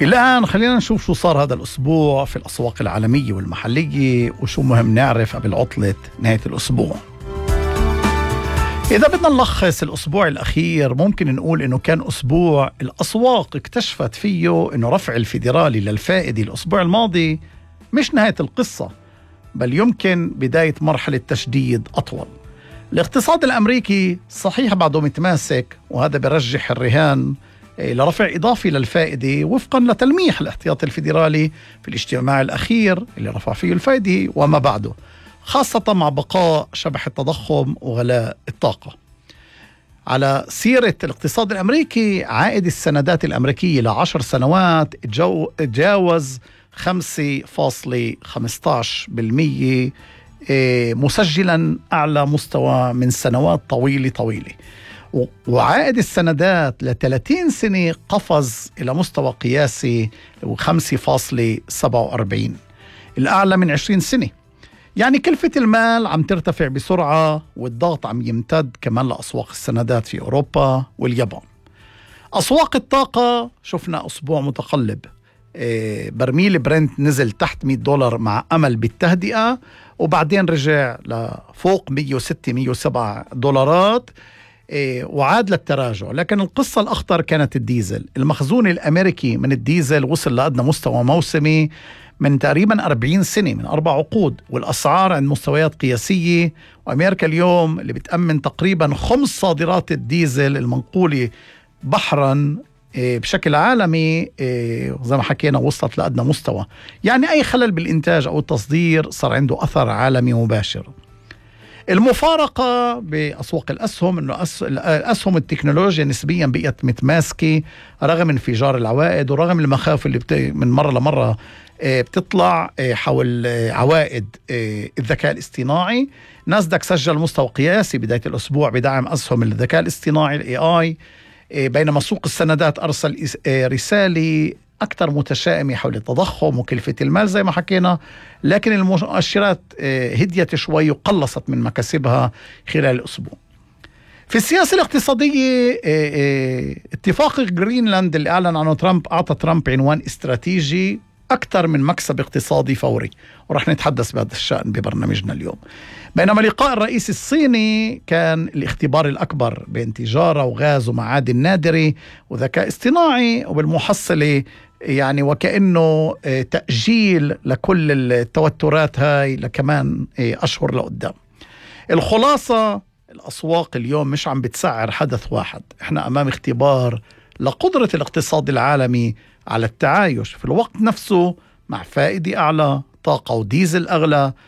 الآن خلينا نشوف شو صار هذا الأسبوع في الأسواق العالمية والمحلية وشو مهم نعرف قبل عطلة نهاية الأسبوع. إذا بدنا نلخص الأسبوع الأخير ممكن نقول إنه كان أسبوع الأسواق اكتشفت فيه إنه رفع الفيدرالي للفائدة الأسبوع الماضي مش نهاية القصة، بل يمكن بداية مرحلة تشديد أطول. الاقتصاد الأمريكي صحيح بعده متماسك، وهذا برجح الرهان لرفع إضافي للفائدة وفقا لتلميح الاحتياطي الفيدرالي في الاجتماع الأخير اللي رفع فيه الفائدة وما بعده، خاصة مع بقاء شبح التضخم وغلاء الطاقة. على سيرة الاقتصاد الأمريكي، عائد السندات الأمريكية ل10 سنوات تجاوز 5.15%، مسجلا أعلى مستوى من سنوات طويلة. وعائد السندات ل30 سنة قفز إلى مستوى قياسي 5.47، الأعلى من 20 سنة. يعني كلفة المال عم ترتفع بسرعة، والضغط عم يمتد كمان لأسواق السندات في أوروبا واليابان. أسواق الطاقة شفنا أسبوع متقلب، برميل برنت نزل تحت $100 مع أمل بالتهدئة، وبعدين رجع لفوق 106-107 دولارات وعاد للتراجع. لكن القصة الأخطر كانت الديزل. المخزون الأمريكي من الديزل وصل لأدنى مستوى موسمي من تقريبا 40 سنة، من 4 عقود، والأسعار عند مستويات قياسية. وأمريكا اليوم اللي بتأمن تقريبا 5 صادرات الديزل المنقولة بحرا بشكل عالمي، زي ما حكينا وصلت لأدنى مستوى. يعني أي خلل بالإنتاج أو التصدير صار عنده أثر عالمي مباشر. المفارقة بأسواق الأسهم أنه الأسهم التكنولوجيا نسبيا بقيت متماسكة رغم انفجار العوائد ورغم المخاوف اللي من مرة لمرة بتطلع حول عوائد الذكاء الاصطناعي. ناسداك سجل مستوى قياسي بداية الأسبوع بدعم أسهم الذكاء الاصطناعي AI، بينما سوق السندات أرسل رسالة أكثر متشائمة حول التضخم وكلفة المال زي ما حكينا، لكن المؤشرات هديت شوي وقلصت من مكاسبها خلال الأسبوع. في السياسة الاقتصادية، اتفاق جرينلاند اللي أعلن عنه ترامب أعطى ترامب عنوان استراتيجي أكثر من مكسب اقتصادي فوري، ورح نتحدث بهذا الشأن ببرنامجنا اليوم. بينما لقاء الرئيس الصيني كان الاختبار الأكبر بين تجارة وغاز ومعادن نادرة وذكاء اصطناعي، وبالمحصلة يعني وكأنه تأجيل لكل التوترات هاي لكمان أشهر لقدام. الخلاصة، الأسواق اليوم مش عم بتسعر حدث واحد، احنا أمام اختبار لقدرة الاقتصاد العالمي على التعايش في الوقت نفسه مع فائدة أعلى، طاقة وديزل أغلى،